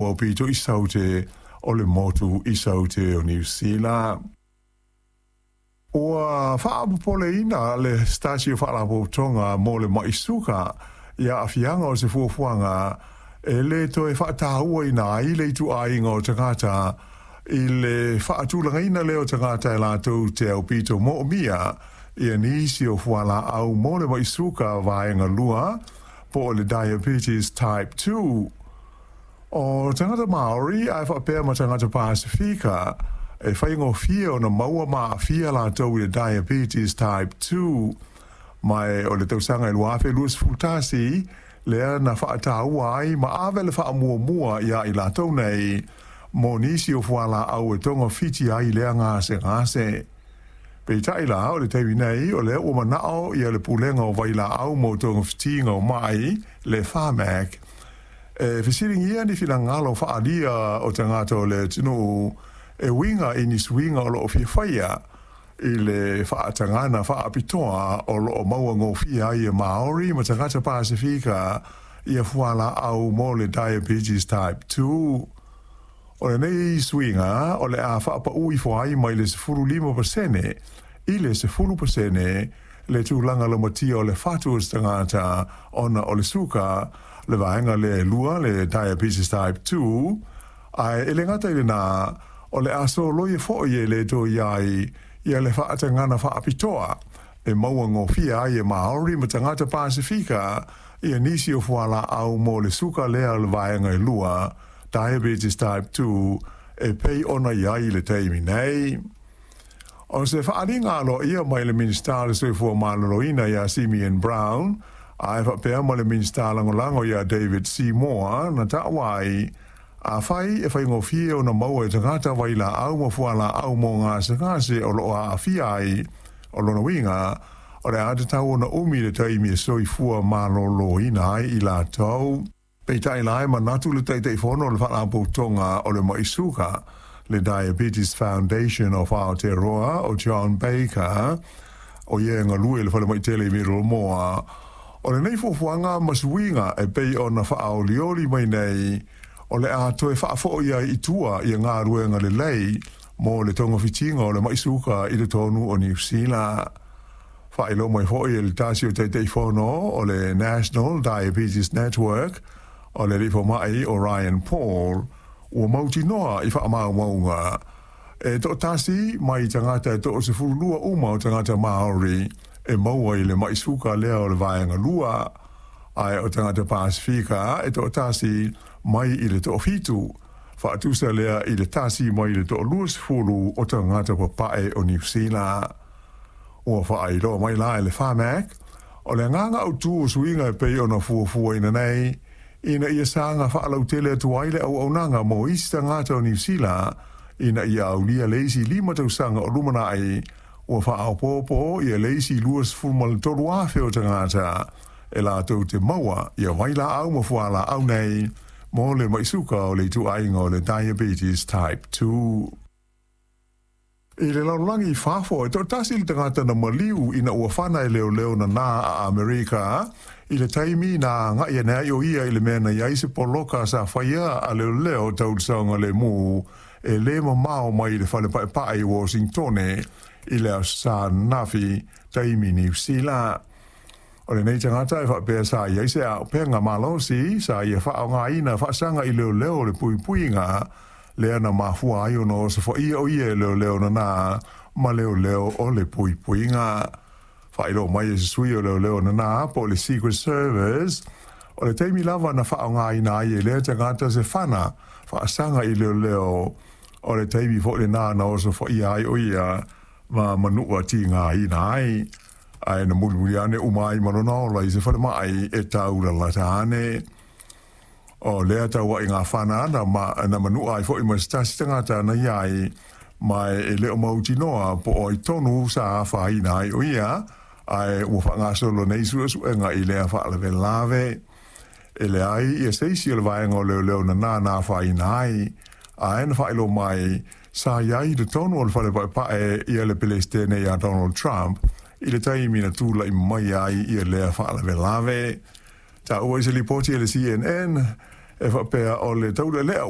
Aupito i Saute o le motu i Saute o Niu Sila. Ua faapopoleina le se tasi o faalapotopotoga mo le ma'i suka i aafiaga o se fuafuaga e lē toe faatauaina ai le ituaiga o tagata i le faatulagaina lea o tagata e latou te aupito moomia ia nisi o fualaau mo le ma'i suka vaega 2 po o le diabetes type 2. O tagata Maori ae faapea ma tagata Pasifika e faigofie ona maua ma aafia latou i le diabetes type 2, ma o le tausaga e 2021 lea na faataua ai ma ave le faamuamua iā i latou nei mo nisi o fualaau e togafiti ai lea gasegase. Peitai la, o le taimi nei o lea ua manao ia le Pulega o Vailaau mo Togafitiga o Mai, le Pharmac, e fesiligia ni finagalo faaalia o tagata o le atunuu e uiga i ni suiga o loo fia faia i le faatagaga faapitoa o loo maua gofie ai e Maori ma tagata Pasifika ia fualaau mo le diabetes type 2. O lenei suiga o le a faapauu ifo ai mai le 15% i le 10% le tulaga laumatia o le fatu o se tagata ona o le suka, le vaega lea e lua, le diabetes type 2, ae e le gata i lenā, o le a soloia foi e le toe i ai ia le faatagaga faapitoa e maua gofie ai e Maori ma tagata Pasifika ia nisi o fualaau mo le suka lea o le vaega e lua, diabetes type 2, e pei ona i ai i le taimi nei. O se faaaliga aloaia mai le Minisita o le Soifua Maloloina iā Simeon Brown ae faapea ma le Minisita Lagolago iā David Seymour na taua ai, afai e faigofie ona maua e tagata vailaau ma fualaau mo gasegase o loo aafia ai, o lona uiga o le a tatau ona umi le taimi e soifua malōlōina ai i latou. Peitai la, e manatu le Taitaifono o le Faalapotopotoga o le Ma'i Suka, le Diabetes Foundation of Aotearoa, o John Baker, o ia e galue i le falemai tele i Middlemore, o lenei fuafuaga ma suiga e pei ona faaolioli mai nei, o le a toe faafoi ai i tua ia galuega lelei mo le togafitiga o le ma'i suka i totonu o Niu Sila. Faailoa mai foi e le tasi o Taitaifono o le National Diabetes Network, o le alii fomai o Ryan Paul, ua mautinoa i faamaumauga e toatasi mai tagata e 12 uma o tagata Maori e maua i le ma'i suka lea o le vaega 2, ae o tagata Pasifika e toatasi mai i le 7, faatusa lea i le 1 mai le 20 o tagata papae o Niu Sila. Ua faailoa mai la e le Pharmac, o le agaga autū o suiga e pei ona fuafuaina nei, ina ia saga faalautele atu ai le auaunaga mo isi tagata o Niu Sila ina ia aulia le isi 5 tausaga o lumanai, ua faaopoopo ia le isi 23,000 o tagata e latou te maua ia vailaau ma fualaau nei mo le ma'i suka o le ituaiga o le diabetes type 2. I le lalolagi i fafo, e toatasi le tagata na maliu ina ua fana e leoleo nanā a Amerika i le taimi na agai ane ai o ia i le mea na i ai se poloka sa faia a leoleo tau le saogalemu e lē mamao mai le fale paepae i Washingtone i le Aso Sa ananafi, taimi Niu Sila. O lenei tagata e faapea sa i ai se auupega malosi sa ia faaaogaina faasaga i leoleo o le puipuiga lea na mafua ai ona osofaia o ia e leoleo nanā ma leoleo o le puipuiga. Faailoa mai e se sui o leoleo nanā po o le Secret Service, o le taimi lava na faaaogaina ai e lea tagata se fana faasaga i leoleo, o le taimi foi lenā na osofaia ai o ia ma manua tigaina ai, ae na mulimuli ane uma ai ma lona ola i se falemai e taulalata ane. O lea tauaiga fana na, ma, na manua ai foi ma se tasi tagata na i ai, ma e le o mautinoa po o ai tonu sa afaina ai o ia, ae ua faagasolo nei suesuega i lea faalavelave. E leai ia se isi o le vaega o leoleo nanā na afaina ai, ae na faailoa mai sa i ai i totonu o le fale paepae ia le Pelesitene ia Donald Trump i le taimi na tula'i mai ai ia lea faalavelave. Taua i se lipoti a le CNN, E faapea o le taulelea.